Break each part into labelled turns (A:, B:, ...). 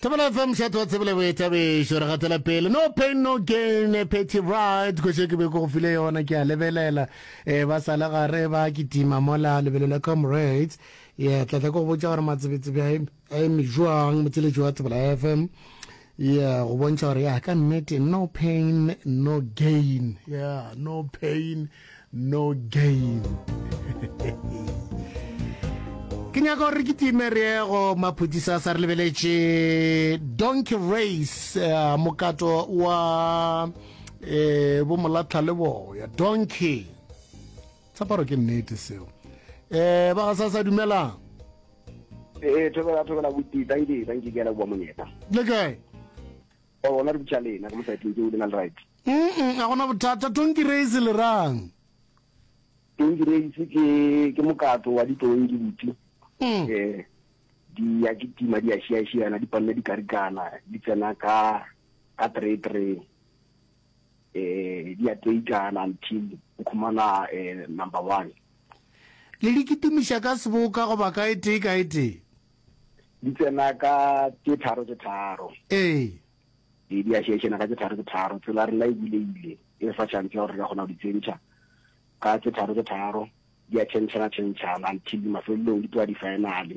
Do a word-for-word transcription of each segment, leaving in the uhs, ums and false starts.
A: Thobela F M, mošate wa tsebele boithabišo. Re gatela pele. No pain, no gain, Patty Wright. Koše ke be ke go file yona, ke a lebelela. Eh, ba sa le gare ba kitima mola lebelo la Comrades. Yeah, tla tla ke go botša gore matsebetsebe a eme- a eme jwang motseletši wa Thobela F M. Yeah, go bontšha gore ya ka nnete no pain, no gain. Yeah, no pain, no gain. Ke nyaka gore re kitime re ye go maphodisa sa re lebeletše donkey race, uh, mokato wa eh bo molatlha le boya donkey tshaparo. Ke nnete seo. eh ba ga sa sa dumelang.
B: Ee, thobela, thobela buti. Thank you, thank you, ke a leboa monyetla.
A: Le kae?
B: O bona re butša lena ka mo saeteng ke o le na le right.
A: Mm a gona bothata. Donkey race le rang?
B: Donkey race ke ke mokato wa ditonki, buti.
A: Mm.
B: eh di ya kitima, di a šiašiana, di panne dikarikana, di tsena ka ka three three, eh di a teikana until o khumana eh number one.
A: Le di kitimiša ka seboka goba ka e tee ka e tee?
B: Di tsena ka tše tharo tše tharo.
A: Ee.
B: E di a šiašiana ka tše tharo tše tharo. Tsela rena e buleile, e re fa chance ya gore re ka kgona go di tsentšha ka tše tharo tše tharo. Di a tšhentšhana tšhentšhana until mafelelong di tloa di-final.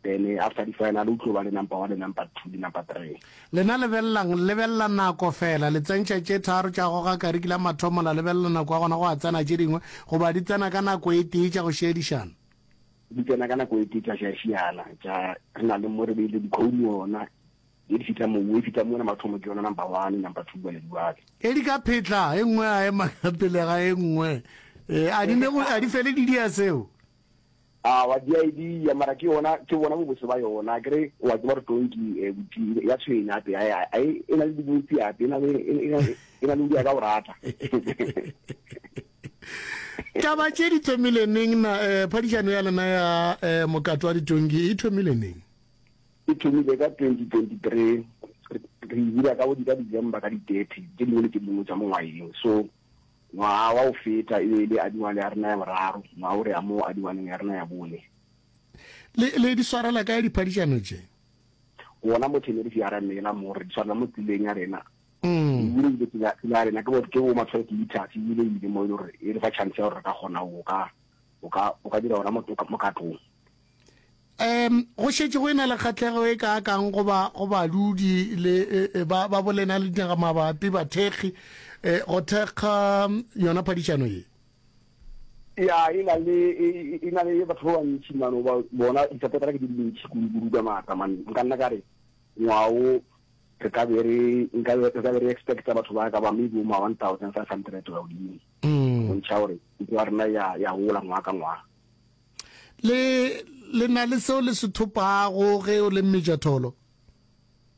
B: Then eh, after di-final o tlo ba le number one le number two le number three.
A: Lena lebelelang, lebelela nako fela, le tsentšha tše tharo tša goga kariki la mathomo, la lebelela nako ya gona go a tsena tše dingwe, goba di tsena ka nako e tee tša go šiedišana?
B: Di tsena ka nako e tee tša šiašiana tša re na le mo re beile dikhounu ona e di fihla moo, e fihla mona mathomo ke yona number one, number two, bale diwale.
A: E di ka phetla e nngwe a ema ka pele ga e nngwe, um a di ne go- a di fele di dia seo?
B: A wa di idea, mara ke yona, ke bona bobose ba yona. Ke re wa tseba re tonki eh, buti ya tshwenya ape a a e na le dibotsi ape, e na le e na e na le o dia ka o rata.
A: Taba tše di thomile neng na? um phadišano ya lena ya um mokato wa ditonki e thomile neng?
B: E thomile ka twenty twenty-three. Re re e bula ka bo di ka December ka di-thirty tše dingwe le tše dingwe tša mongwageng. So ngwaga wa go feta e be e le adiwane ya rena ya boraro, ngwaga o re ya mo adiwaneng ya rena ya bone.
A: Le le di swarela kae diphadišano tše?
B: Gona mo Tenerife ya ramela mo re di swarela mo tseleng ya rena.
A: Mm.
B: Ebile ile tsela tsela ya rena ke bo ke bo ma twelve meters, ebile ile mo e le gore e re fa chance ya gore re ka kgona go ka o ka o ka dira ona mo mokatong.
A: um go šetše go e na le kgatlhego e kaakang goba go badudi le e, e, ba ba bolena le dinaga mabapi, bathekgi, um go thekga yona phadišano ye?
B: Ya, e na le e e na le batho ba bantši mano ba bona di-supportera ke di dintši kudu-kudu ka maatla man. Nka nna ka re ngwao re ka be re nka be re ka be re expecta batho ba ka ba maybe ma one thousand five hundred go ya godimo.
A: Mm.
B: Bontšha gore ntlo ya rena ya ya gola ngwaga ka ngwaga.
A: le le na le seo le se thopago ge o le mmetšatholo?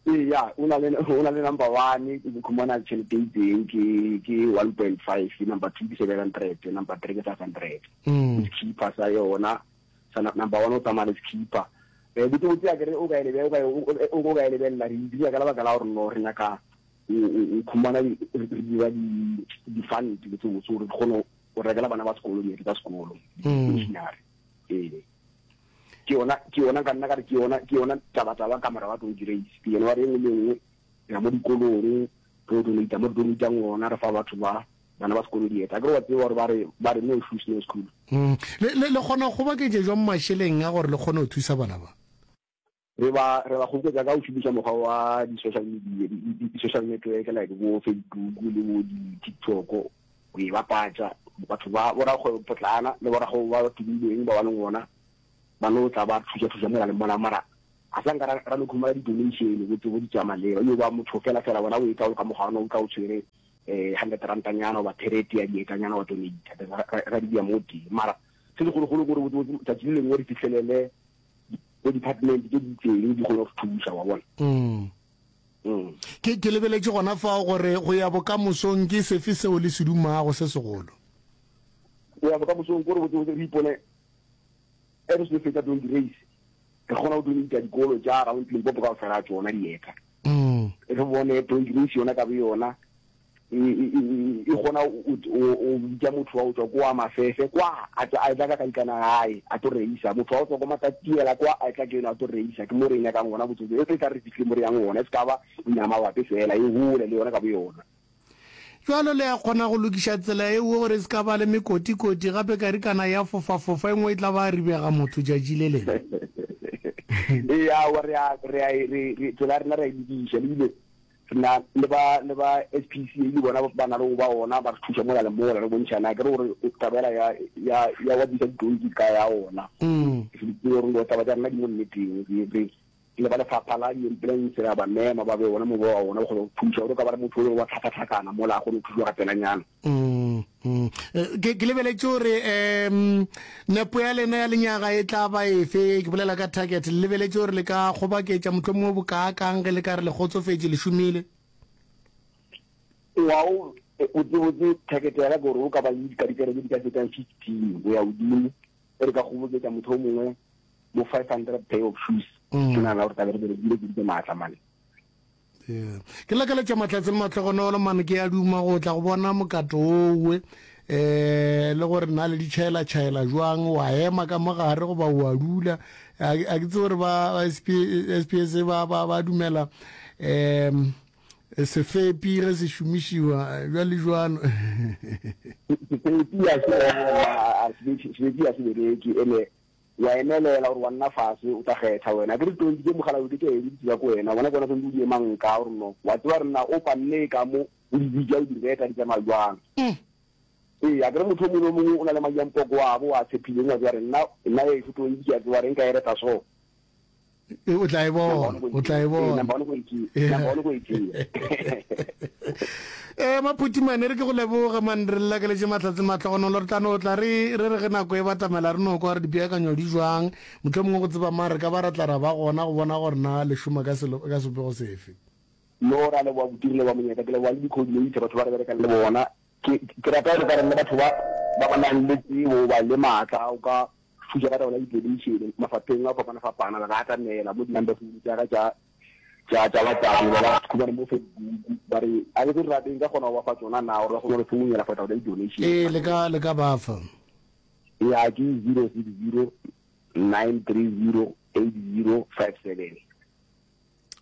B: Ee, ya, o na le o na le number one o khumana tšhelete e itseng, ke ke one point five, number two ke seven hundred, number three ke five hundred.
A: Mm.
B: Sekipa sa yona sa number one o tsamaya le sekipa. um botse botse ya kere o ka e lebe o ka o o ka e lebelela, re dira ka lebaka la gore no re nyaka o khumana re dira di di-fund botse botse gore re kgone go rekela bana ba sekolo diete tsa sekolo, di-stationary. Ee, ke yona ke yona ka nna ka re ke yona ke yona taba taba ka mora wa donkey race. Ke yona wa re engwe le engwe re ya mo dikolong, re donata mo re donatang gona, re fa batho ba bana ba sekolo dieta. Akere wa tseba gore ba re ba re no shoes, no school.
A: Mm. le le le kgona go kgoboketša jwang mašeleng a gore le kgone go thusa bana ba?
B: re ba re ba kgoboketša ka go šomiša mokgwa wa di-social media, di-social network like bo Facebook le bo di-TikTok, o e bapatša. Batho ba borakgwebo potlana le borakgwebo ba tumileng ba ba leng gona ba no tla ba thuša thuša mola le mola, mara a sa nka ra no khumana di-donation botse bo di tša maleba yo ba motho fela fela bona o e tla o ka mokgwa o tla o tshwere um hundred rantanyana goba thirty ya dietanyana wa donate, ra di bea mo teng. Mara se segologolo kore botse botse tsatsi le lengwe re fitlhelele bo department tse di itseng di kgone go thuša wa bona.
A: Mm.
B: Mm.
A: ke ke lebeletše gona fao gore go ya bokamosong ke sefe seo le se dumago se segolo?
B: Go ya bokamosong kore botse botse re ipone e re se fetsa donkey race, re kgona go donata dikolo tša around Limpopo ka fela tsona dieta.
A: Mm.
B: Re bone donkey race yona ka bo yona e e kgona o bitša motho wa go tšwa kwa Mafefe kwa a tla ka kaikana gae a tlo reisa, motho wa go tšwa kwa Matatiela kwa a tla keno a tlo reisa. Ke mo re e nyakang gona botsotso, e tla re fihle mo re yang gona, e se ka ba mabapi fela, e gole le yona ka boyona.
A: Jwalo le ya kgona go lokiša tsela e nngwe gore e se ka ba le mekotikoti, gape karikana ya fofafofa e nngwe e tla ba ribega motho tšatši le lengwe.
B: Ee, aowa, re a, re a, re, re, tsela ya rena re a e lokiša, ebile re na le ba, le ba S P C A le bona ba na le go ba ona, ba re thuša mola le mola, re bontšhana ke re gore taba ela ya, ya, ya wa bisa ditonki ka ya ona.
A: Mm.
B: Ke gore taba tša rena di mo nneteng, re, re le ba lefapha la di-ambulance re a ba mema ba be ona mo ba ona ba kgone go thuša gore ka ba re motho o wa tlhakatlhakana mola a kgone go thušwa ka pelanyana.
A: Mm, mm. Ke, ke lebeletše gore um nepo ya lena ya lenyaga e tla ba efe, ke bolela ka target, le lebeletše gore le ka kgobaketša mohlomongwe bokaakang ge le ka re le kgotsofetše le šomile?
B: Wow, botsebotse target ya ka ke gore o ka ba le dikatikere tse di ka fetang fifteen go ya godimo, e re ka kgoboketša motho o mongwe bo five hundred pair of shoes.
A: Mm.
B: Ke nagana gore tlabe re berekile kudu ke maatla mane.
A: Yeah. Ke lakaletša mahlatse le mahlogonolo mane, ke a duma go tla go bona mokato owe eh le gore na le ditšhaela-tšhaela jwang, wa ema ka mogare goba wa dula. A ke tsebe gore ba S P S ba ba ba dumela em sefepi ge se šomišiwa jwale jwalo.
B: Sefepi a se sefepi a se bereke, ene wa emelela gore wa nna fase o tla kgetha wena. Ke re tonki tše mogala ke tše di tseba ko wena, bona ke wena santse o di emang ka gore no wa tseba gore na o panne ka mo o di bitša o di reta di tsamaya jwang. Ee, a ke re motho o mongwe le mongwe o na le madi a mpoko wa bo a tshepileng, wa tseba gore nna nna ešo tonki ke a tseba gore nka e reta so.
A: O tla e bona, o tla e bona.
B: Number one go e tšea, number one go e tšea.
A: Eh Maphuti mane re ke go leboge man, re lakeletše mahlatse mahlogonolo, re tla no tla re re re ge nako e batamela re no kwa gore dipeakanyo di jwang, mohlomongwe go tseba mang re ka ba ra tla ra ba gona go bona gore na le šoma ka selo ka sebopego sefe.
B: No ra leboga botiri le ba monyetla, ke leboga le di-coordinator batho ba re berekang le bona. Ke ke rata gore ka re le batho ba ba ba nang le tsebo ba le maatla o ka thuša ka taba la di-donation mafapheng a fapana-fapana, ba ka atamela mo di-number phone tša ka tša tša tša WhatsApp, ba ba khumane mo Facebook, ba re a ke re rateng ka kgona go ba fa tsona na gore ba kgone go re founela for taba la di-donation.
A: Ee, le ka le ka ba fa.
B: Ya ke zero six zero nine three zero eight zero five seven.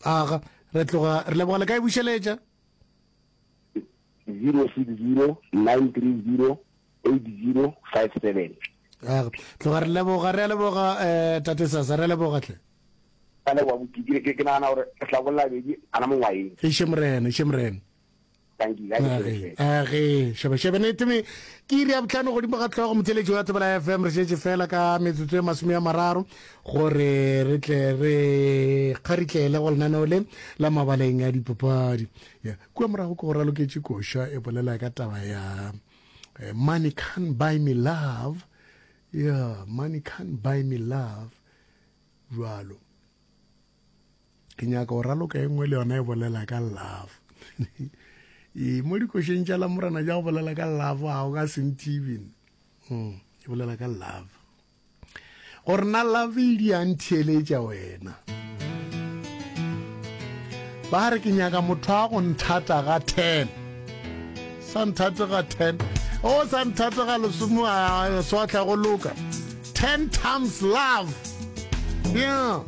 A: Aga, re tloga re leboga, le ka e bušeletša?
B: zero six zero nine three zero eight zero five seven.
A: Aga, tloga re leboga, re a leboga eh tate Sasa, re a leboga tle.
B: Ka leboga botiki, ke ke nagana gore re tla bolela bedi ana mongwaeng.
A: Eiše morena, eiše morena.
B: Thank you.
A: Age, age, shebe shebe nete me ke iri ya bohlano godimo ga hlogo motheletši wa Thobela F M, re šetše fela ka metsotso e masome a mararo gore re tle re kgaritlele go lenaneo le la mabaleng a dipapadi. Ya, kua morago ke go raloketše koša e bolela ka taba ya eh, money can't buy me love. Yeah, money can't buy me love. Jwalo. Ke nyaka go raloka e nngwe le yona e bolela ka love. E mo dikošeng tša Lamorena tša go bolela ka love ga o ka se nthibe. Mm, e bolela ka love. Gore na love e di a ntheeletša wena. Ba re ke nyaka motho a go nthata ga ten. Sa nthate ga ten. O sa nthate ga lesome, a swa tla go loka. ten times love. Yeah.